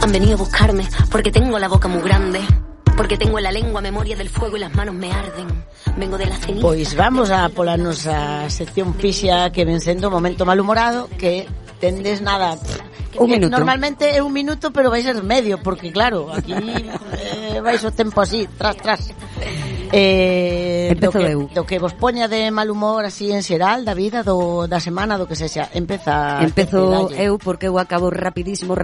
Han venido a buscarme porque tengo la boca muy grande, porque tengo en la lengua memoria del fuego y las manos me arden. Vengo de la ceniza. Pois vamos a pola nosa sección fixa que ven sendo momento malhumorado, que tendes nada. Un minuto. Normalmente é un minuto, pero vai ser medio, porque claro, aquí vais o tempo así, tras. Empezo eu. Do que vos poña de mal humor así en xeral, da vida, da semana, do que sexa. Empezo eu, porque eu acabo rapidísimo.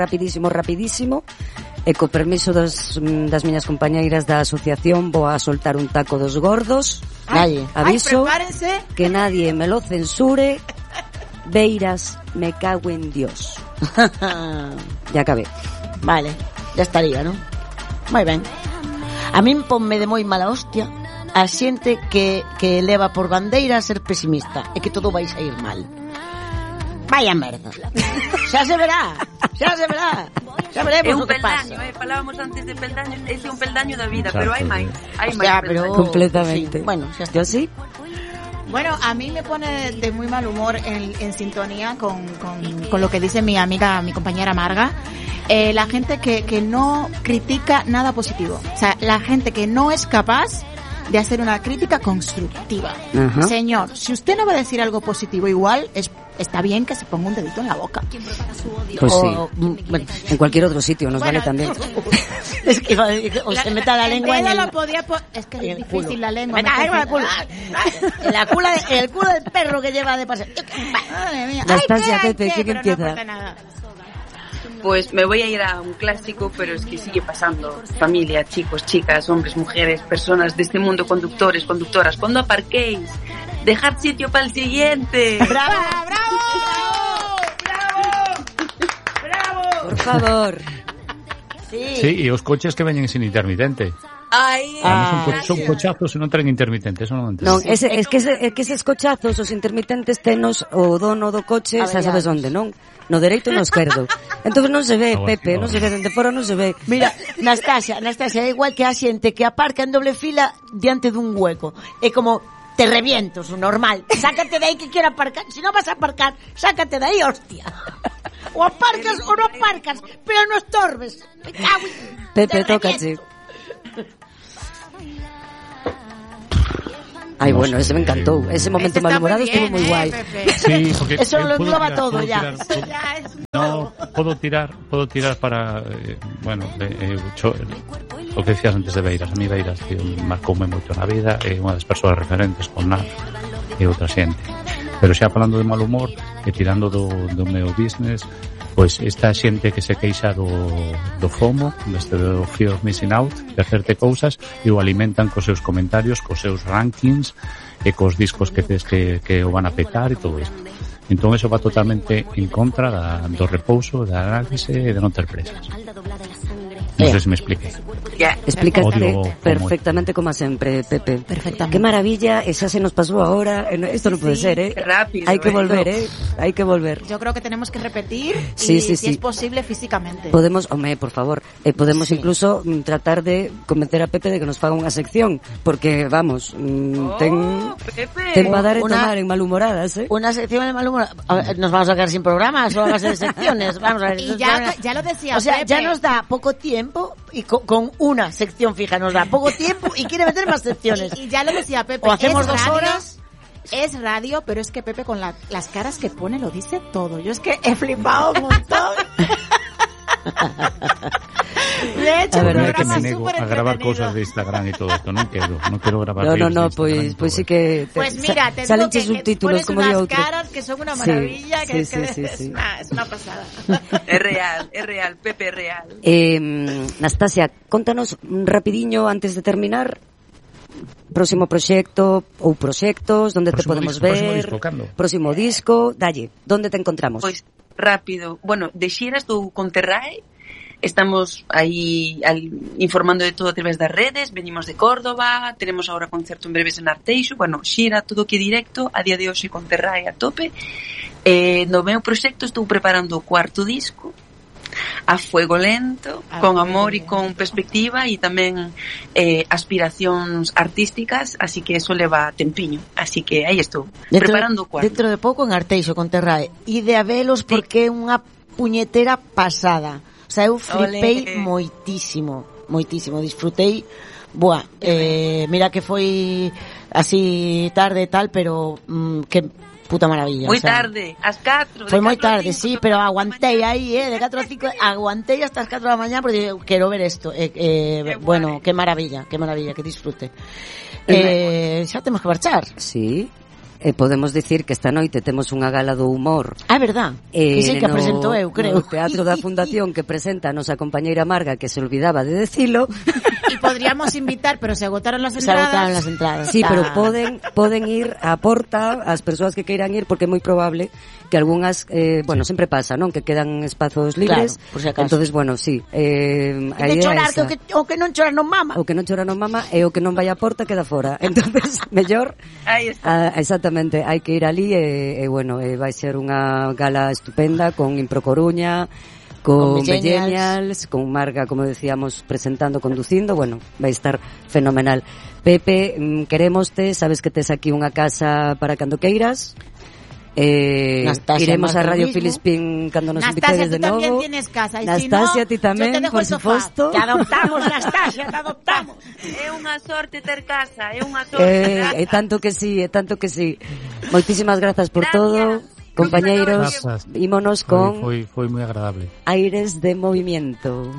E co permiso das miñas compañeiras da asociación vou a soltar un taco dos gordos. Aviso que nadie me lo censure. Beiras, me cago en Dios. Ya acabé. Vale, ya estaría, ¿no? Moi ben. A min ponme de moi mala hostia a xente que leva por bandeira a ser pesimista e que todo vai sair mal. Vaya merda. Xa se verá. Já veremos o que pasa. Falábamos antes de peldaño, ese é un peldaño da vida, pero hai máis. Pero completamente. Sí. Bueno, xa está. Yo sí. Bueno, a mí me pone de muy mal humor en sintonía con lo que dice mi amiga, mi compañera Marga, la gente que no critica nada positivo. O sea, la gente que no es capaz de hacer una crítica constructiva. Uh-huh. Señor, si usted no va a decir algo positivo, igual está bien que se ponga un dedito en la boca. Pues sí. Bueno, en cualquier otro sitio nos vale también. Es que o se meta la lengua en el... Es que es difícil la lengua. El culo del perro que lleva de paseo. Madre mía. Nastasia, Pepe, ¿quién empieza? Pues me voy a ir a un clásico, pero es que sigue pasando. Familia, chicos, chicas, hombres, mujeres, personas de este mundo, conductores, conductoras. Cuando aparquéis, dejad sitio para el siguiente. ¡Bravo! Por favor. Sí, e os coches que veñen sin intermitente. Son cochazos e non traen intermitente, eso non entendo. Non, es que eses cochazos, os intermitentes, tenos o dono do coche, xa sabes onde, non? No dereito e no esquerdo. Entonces non se ve, Pepe, non se ve, dende fora non se ve. Mira, Nastasia, é igual que a xente que aparca en doble fila diante dun hueco. É como, te reviento, su normal. Sácate de aí que quiero aparcar. Si no vas a aparcar, sácate de aí, hostia. O aparcas o no aparcas, pero no estorbes. Pepe, tócache. Ay, bueno, ese me encantó. Ese momento malhumorado estuvo muy guay. Sí, porque eso lo engloba todo ya. No, puedo tirar para o que decías antes de Beiras. A mí Beiras marcoume moito na vida, é unha das persoas referentes con nada e outra xente. Pero xa falando de mal humor e tirando do meu business, pois esta xente que se queixa do FOMO, do Fear of Missing Out, de hacerte cousas, e o alimentan cos seus comentarios, cos seus rankings e cos discos que o van a petar e todo isto. Entón eso va totalmente en contra do repouso, da análise e de non ter presas. Non sei se me expliquei. Explícate perfectamente como sempre, Pepe. Perfectamente. Qué maravilla, esa se nos pasó ahora. Esto no puede ser, ¿eh? Rápido. Hay que volver, ¿eh? Hay que volver. Yo creo que tenemos que repetir si es posible físicamente. Podemos, por favor, podemos incluso tratar de convencer a Pepe de que nos faga unha sección, porque vamos, ten para dar e tomar en malhumoradas, ¿eh? Una sección en malhumoradas. Nos vamos a quedar sin programas o a base de secciones. Vamos a ver. Y ya lo decía, o sea, Pepe. Ya nos da poco tiempo y con una sección fija nos da poco tiempo y quiere meter más secciones. Y ya lo decía Pepe. O hacemos 2 horas. Es radio, pero es que Pepe con las caras que pone lo dice todo. Yo es que he flipado un montón. De hecho, un programa que me nego a grabar cosas de Instagram y todo esto. No quiero grabar. No, pues sí que pues mira, te salen que subtítulos como de otro. Caras que son una maravilla, sí. Es una pasada. Es real, Pepe, es real. Nastasia, contanos rapidiño antes de terminar. Próximo proxecto ou proxectos, donde te podemos ver? Próximo disco, dalle, donde te encontramos? Pois rápido. Bueno, de xira estou con Terrae. Estamos aí informando de todo a través das redes. Venimos de Córdoba, tenemos ahora concerto en breves en Arteixo. Bueno, xira todo que directo, a día de hoxe con Terrae a tope. No meu proxecto estou preparando o 4º disco, a fuego lento, con amor e con perspectiva, e tamén aspiracións artísticas, así que eso leva tempiño, así que aí estou preparando o 4º. Dentro de pouco en Arteixo con Terrae, e de habelos porque é unha puñetera pasada. O sea, eu flipei moitísimo, disfrutei. Buah, mira que foi así tarde e tal, pero que puta maravilla. Moi tarde, ás 4. Foi moi tarde, sí, pero aguantei aí, de 4 a 5, aguantei hasta as 4 da mañá porque quero ver isto. Bueno, que maravilla, que disfrute. Xa temos que marchar. Sí. Podemos dicir que esta noite temos unha gala do humor. Ah, verdad. Que sei que a presento eu, creo. No Teatro da Fundación que presenta a nosa compañeira Marga, que se olvidaba de decilo. Y podríamos invitar, pero se agotaron las entradas. Sí, pero poden ir á porta as persoas que queiran ir, porque é moi probable que algunhas, sempre pasa, non? Que quedan espazos libres. Claro, por si acaso. Entonces, bueno, sí. A idea chorar, esa. O que non chora non mama. O que non chora non mama e o que non vai á porta queda fora. Entonces, mellor. Aí está. Exactamente, hai que ir ali e vai ser unha gala estupenda con Impro Coruña, con Millennials, con Marga, como decíamos, presentando, conducindo, vai estar fenomenal. Pepe, queremoste, sabes que tes aquí unha casa para cando queiras. Iremos a Radio Filispín cando nos invitedes de novo. Nastasia, tú tamén tienes casa. Nastasia, ti tamén, por suposto. Te adoptamos, Nastasia, te adoptamos. É unha sorte ter casa, é unha sorte. É tanto que sí. Moitísimas grazas por todo, compañeiros. Ímonos con foi moi agradable. Aires de movimiento.